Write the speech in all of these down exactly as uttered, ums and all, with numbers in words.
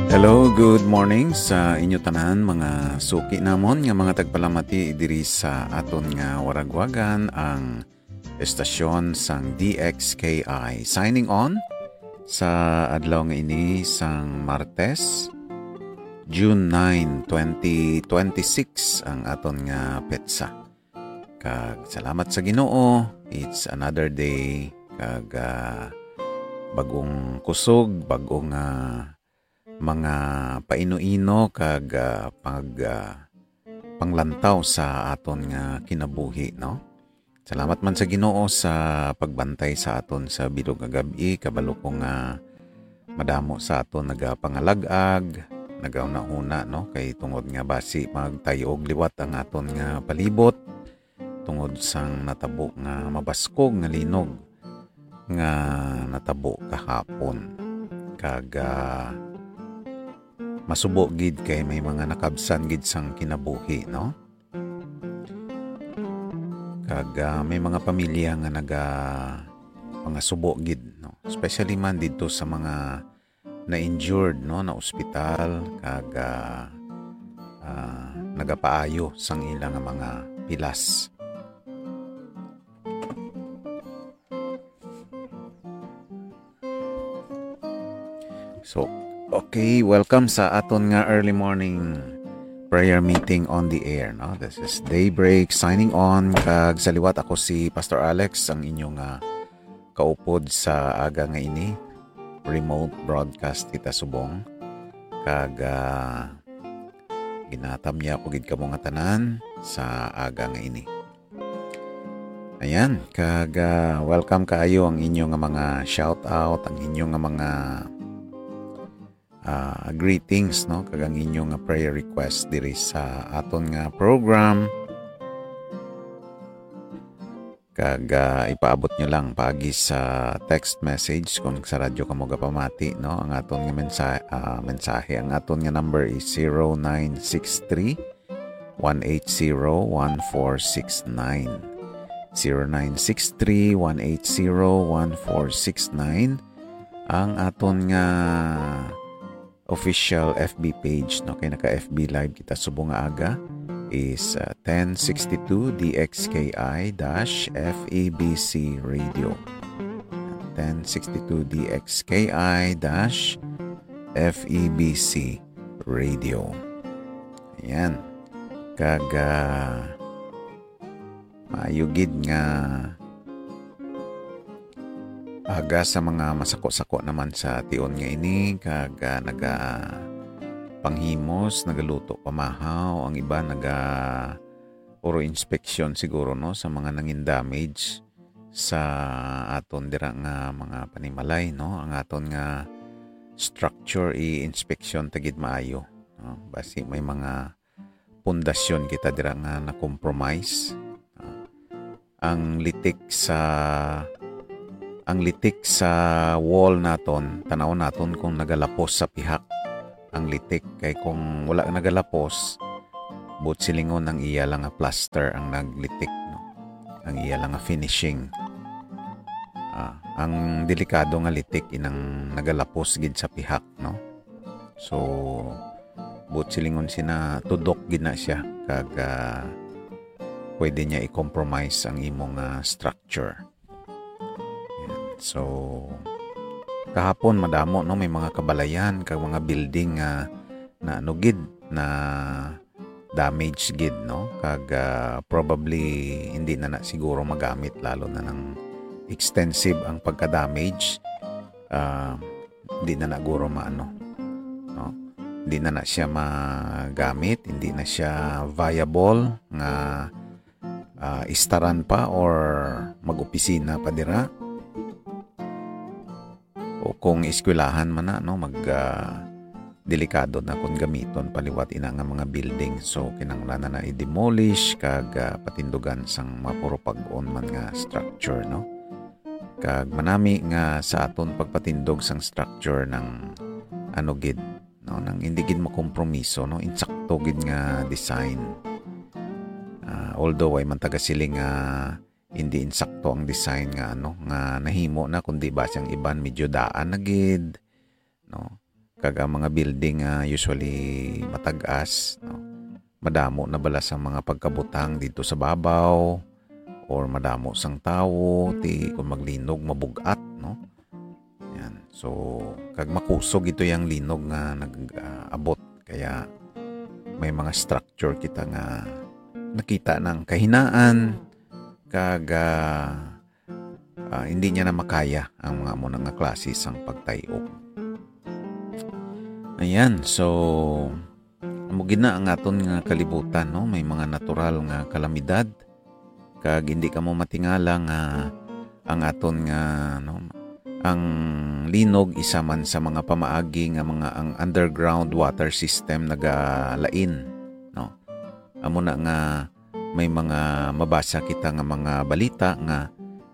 Hello, good morning sa inyo tanan, mga suki namon nga mga tagpalamati diri sa aton nga waragwagan, ang estasyon sang D X K I. Signing on sa adlaw nga ini sang Martes, June nine, twenty twenty-six, ang aton nga petsa. Kag salamat sa Ginoo, it's another day, kag, ah, bagong kusog, bagong, ah, mga paino-ino kag, ah, pag, ah, panglantaw sa aton nga kinabuhi, no? Salamat man sa Ginoo sa pagbantay sa aton sa bilog nga gab-i. Kabalo ko nga madamo sa aton nagapangalag-ag, nagahuna-huna, no? Kay tungod nga basi magtay-og liwat ang aton nga palibot, tungod sang natabo nga mabaskog nga linog nga natabo kahapon. Kag, ah, masubo gid kay may mga nakabsan gid sang kinabuhi, no? Kag, ah, may mga pamilya nga naga-, mga subo gid, no? Especially man didto sa mga na-injured, no, na ospital, kag, ah, ah, nagapaayo sang ila nga mga pilas. So, okay, welcome sa aton nga early morning prayer meeting on the air, no? This is Daybreak signing on, kag sa liwat ako si Pastor Alex, ang inyo nga kaupod sa aga nga ini. Remote broadcast kita subong. Kag, ah, ginatamya ko gid kamo nga tanan sa aga nga ini. Ayan, kag, ah, welcome kaayo ang inyo nga mga shout out, ang inyo nga mga, ah, greetings, no? Kag ang inyo nga prayer request diri sa aton nga program. Kag, ah, ipaabot nyo lang paagi sa text message kung sa radyo kamo gapamati, no? Ang aton nga mensa-, ah, mensahe, ang aton nga number is zero nine six three, one eight zero, one four six nine. Zero nine six three, one eight zero, one four six nine. Ang aton nga official F B page, no? Kay naka-F B live kita subong nga aga is, uh, ten sixty-two D X K I dash F E B C Radio. Ten sixty-two D X K I dash F E B C Radio. Ayan. Kag, ah, maayo gid nga aga sa mga masako-sako naman sa tion nga ini, kag, ah, nagapanghimos, nagaluto pamahaw, ang iba naga-, puro inspeksyon siguro, no, sa mga nangin damage sa aton dira nga mga panimalay, no? Ang aton nga structure, i-inspeksyon ta gid maayo, no? Basi may mga pundasyon kita dira nga na-compromise. Ah, ang litik sa, ang litik sa wall naton, tan-aw naton kung nagalapos sa pihak ang litik, kay kung wala nagalapos, buot silingon ang iya lang nga plaster ang naglitik, no? Ang iya lang nga finishing. Ah, ang delikado nga litik inang nagalapos gid sa pihak, no? So, buot silingon sina, tudok gid na siya, kag, ah, pwede niya i-compromise ang imong, ah, structure. Yan. So, kahapon madamo, no, may mga kabalayan kag mga building nga na, ano gid, na damage gid, no? Kag, ah, probably hindi na na siguro magamit, lalo na nang extensive ang pagka-damage. Ah, hindi na na guro maano, no? Hindi na na siya magamit, hindi na siya viable nga, ah, istaran pa or mag-opisina pa dira. O kung eskwelahan man na, no, mag, ah, delikado na kung gamiton pa liwat ina nga mga building. So, kinahanglan na na i-demolish kag, ah, patindugan sang mapurupag-on man nga structure, no? Kag manami nga sa aton pagpatindog sang structure nang ano gid, no, nang hindi gid makompromiso, no, insakto gid nga design. Ah, although way man taga siling nga hindi insakto ang design nga, ano, nga nahimo na, kundi ba siyang iban medyo daan na gid, no? Kag ang mga building nga usually matag-as, no? Madamo na bala sang mga pagkabutang didto sa babaw, or madamo sang tawo, ti kung maglinog, mabug-at, no? Yan. So, kag makusog ito yang linog nga nag-abot. Kaya may mga structure kita nga nakita ng kahinaan, kag, ah, ah, hindi niya na makaya ang mga amo na nga klase sang pagtay-og. Ayan, so, amo gid na ang aton nga kalibutan, no? May mga natural nga kalamidad, kag hindi kamo matingala nga ang aton nga, no, ang linog isa man sa mga pamaagi nga mga ang underground water system nagalain, no? Amo na nga may mga mabasa kita nga mga balita nga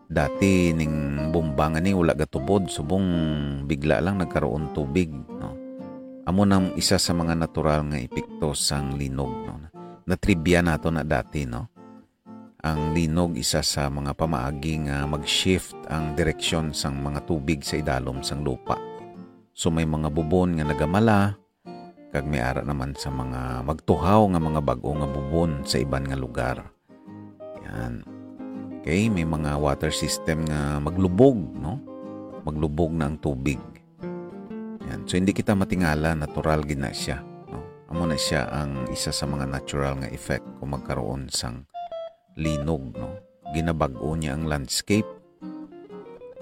dati ning bomba nga ni wala gatubod, subong bigla lang nagkaroon tubig, no? Amo nang isa sa mga natural nga epekto sang linog, no? Natrivia nato na dati, no? Ang linog isa sa mga pamaagi nga mag-shift ang direksyon sang mga tubig sa idalom sang lupa. So may mga bubon nga nagamala, kag may ara naman sa mga magtuhaw nga mga bag-o nga bubon sa iban nga lugar. Yan. Okay, may mga water system nga maglubog, no? Maglubog na ang tubig. Yan. So, hindi kita matingala, natural gid na siya, no? Amo na siya ang isa sa mga natural nga effect kung magkaroon sang linog, no? Ginabag-o niya ang landscape,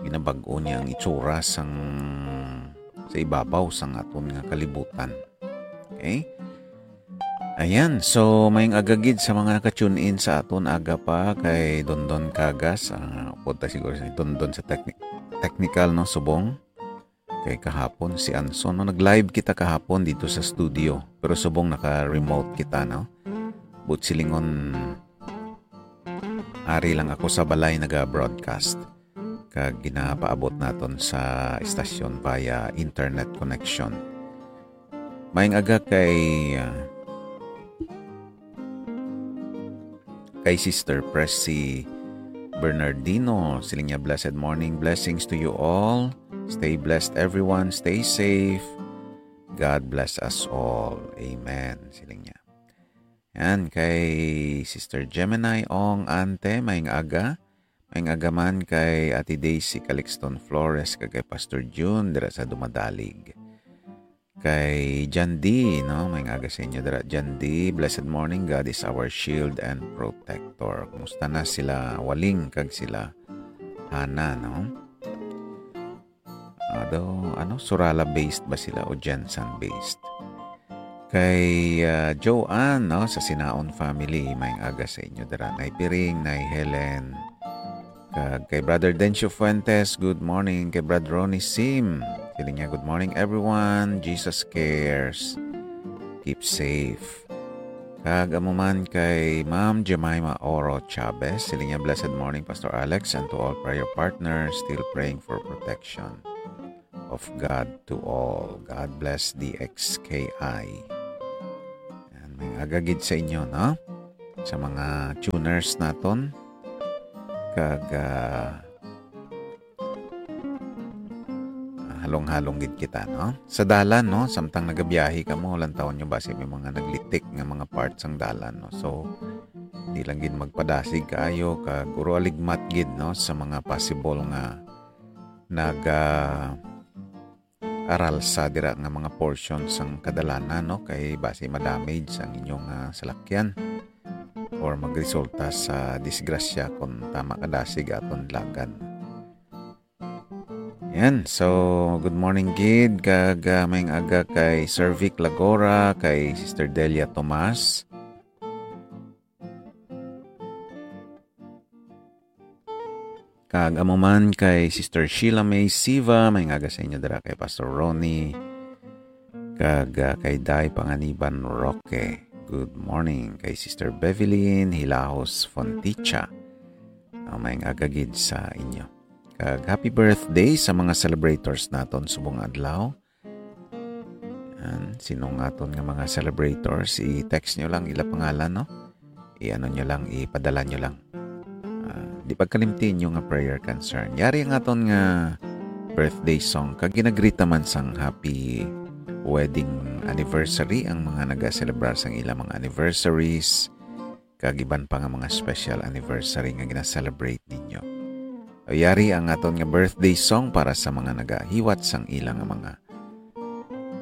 ginabag-o niya ang itsura sang, sa ibabaw sang aton nga kalibutan. Okay? Ayan, so maayong aga gid sa mga naka-tune in sa aton aga pa kay Dondon Cagas, ah, upod ta siguro si Dondon sa techni-, technical, no, subong. Kay kahapon si Anson, no, nag-live kita kahapon dito sa studio, pero subong naka-remote kita, no? But silingon, ari lang ako sa balay naga-broadcast, kag ginapaabot naton sa istasyon via internet connection. Maayong aga kay, ah, kay Sister Pressy Bernardino. Siling niya, "Blessed morning, blessings to you all. Stay blessed, everyone. Stay safe. God bless us all. Amen." Siling niya. Yan, kay Sister Gemini Ong Ante, maayong aga. Maayong aga man kay Ate Daisy Calixton Flores, kag kay Pastor June, dira sa Dumadalig. Kay John D, no? Maayong aga sa inyo, dira, John D. Blessed morning. God is our shield and protector. Kumusta na sila Waling kag sila Hana, no? Ado, ano, Surala based ba sila o Jensen based? Kay, ah, Joanne, no, sa Sinaon family, maayong aga sa inyo dira. Nay Piring, Nay Helen. Kag kay Brother Dencio Fuentes, good morning. Kay Brother Ronnie Sim, siling niya, "Good morning, everyone. Jesus cares. Keep safe." Kag amo man kay Ma'am Jemima Oro Chavez, siling niya, "Blessed morning, Pastor Alex, and to all prayer partners, still praying for protection of God to all." God bless D X K I. Yan, maayong aga gid sa inyo, no? Sa mga tuners naton, kag, ah, ah, halong-halong gid kita, no? Sa dalan, no? Samtang nagabiyahe kamo, lantawon nyo basi may mga naglitik nga mga part sang dalan, no? So, di lang gid magpadasig kaayo, kag guro aligmat gid, no, sa mga possible nga naga, ah, aralsa dira nga mga portion sang kadalanan, no? Kay basi ma-damage ang inyong, ah, salakyan or magresulta sa disgrasya kung tama kadasig aton dagan. Yan. So, good morning gid, kag, ah, maayong aga kay Sir Vic Lagora, kay Sister Delia Tomas. Kag amo man kay Sister Sheila May Siva, maayong aga sa inyo dira, kay Pastor Ronnie, kag, ah, kay Day Panganiban Roque. Good morning kay Sister Bevelyn Hilahos Fonticha. Ah, maayong aga gid sa inyo. Kag happy birthday sa mga celebrators naton subong adlaw. Yan, sino nga aton nga mga celebrators, i-text nyo lang ila pangalan, no? I-ano nyo lang, ipadala nyo lang. Ah, di pagkalimti inyo nga prayer concern. Yari ang aton nga birthday song, kag ginagrita man sang happy wedding anniversary, ang mga nagaselebrar sang ilang mga anniversaries, kag iban pa nga mga special anniversary nga gina-celebrate ninyo. Yari ang aton nga birthday song para sa mga nagahiwat sang ilang nga mga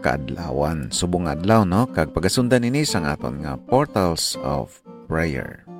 kaadlawan. Subong nga adlaw, no? Kag pagasundan ini sang aton nga Portals of Prayer.